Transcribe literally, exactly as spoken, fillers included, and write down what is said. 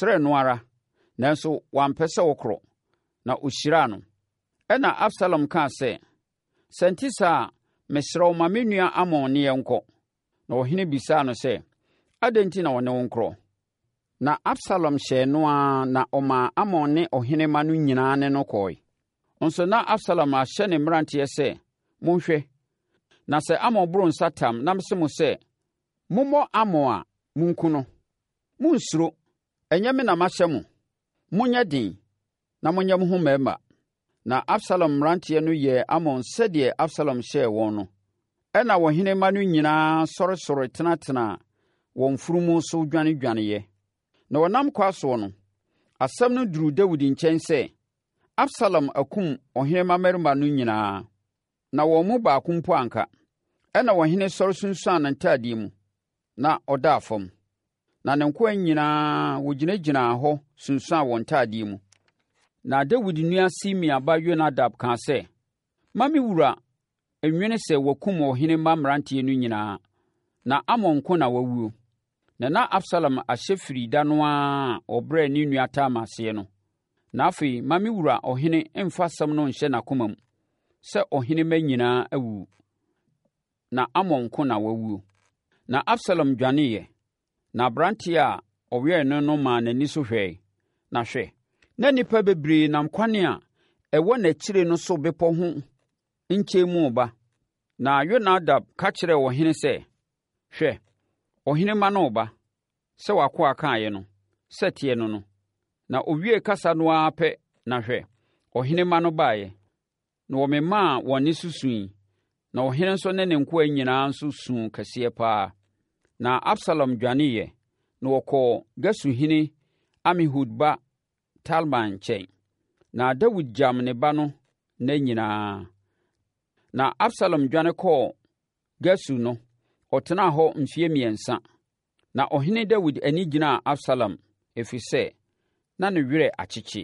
Ɔsrɛɛ no ara, nanso wampɛ sɛ ɔkorɔ, na ɔhyiraa no. Ɛnna Absalom kaa sɛ, Sɛ ɛnte saa a, mesrɛ wo ma me nua Amnon ne yɛn nkɔ. Na ɔhene bisaa no sɛ, Adɛn enti na ɔne wo nkorɔ? Na Absalom hyɛɛ no ara na ɔmaa Amnon ne ɔhene mma no nyinaa ne no kɔeɛ. Nso na Absalom ahyɛ ne mmeranteɛ sɛ, Monhwɛ, na sɛ Amnon boro nsa tam na mese mo sɛ, 'Mommɔ Amnon a, monku no. Monnsuro, ɛnyɛ me na mahyɛ mo? Monyɛ den, na monyɛ mo ho mmarima. Na Absalom mmeranteɛ no yɛɛ Amnon sɛdeɛ Absalom hyɛɛ wɔn no. Ɛnna ɔhene mma no nyinaa sɔresɔre tenatenaa wɔn mfunumu so dwanedwaneeɛ. Na wɔnam kwan soɔ no, asɛm no duruu Dawid nkyɛn sɛ, Absalom akum ɔhene mmammarima no nyinaa, na wɔn mu baako mpo anka. Ɛnna ɔhene sɔre sunsuanee ne ntadeɛ mu, na ɔdaa fam. Na ne nkoa nyinaa, wɔgyinagyinaa hɔ sunsuanee wɔn ntadeɛ mu. Na Dawid nua Simea ba Yonadab kaa sɛ, Mma me wura nnwene sɛ wɔakum ɔhene mma mmeranteɛ no nyinaa, na Amnon nko na wawuo. Na na Absalom ahyɛ firi da no ara a ɔbrɛɛ ne nua Tamar aseɛ no. Na afei ma me wura ɔhene mfa asɛm no nhyɛ n'akoma mu sɛ ɔhene mma nyinaa awuwu, na Amnon nko na wawuo. Na Absalom dwaneeɛ, na aberanteɛ a ɔwɛn no no maa n'ani so hwɛeɛ, na hwɛ, na nnipa bebree nam kwan a ɛwɔ n'akyire no so bepɔ ho nkyɛn mu reba. Na Yonadab ka kyerɛɛ ɔhene sɛ, Hwɛ, ɔhene mma no reba, sɛ w'akoa kaeɛ no, sɛ ɛteɛ no no. Na ɔwiee kasa no ara pɛ na hwɛ, ɔhene mma no baeɛ, na wɔmemaa wɔn nne so sui, na ɔhene nso ne ne nkoa nyinaa nso suu kɛseɛ pa ara. Na Absalom dwaneeɛ, na ɔkɔɔ Gesurhene Amihud ba Talmai nkyɛn. Na Dawid gyam ne ba no nna nyinaa. Na Absalom dwane kɔɔ Gesur no, ɔtenaa hɔ mfeɛ mmiɛnsa. Na ɔhene Dawid ani gyinaa Absalom, ɛfiri sɛ, na ne werɛ akyekye.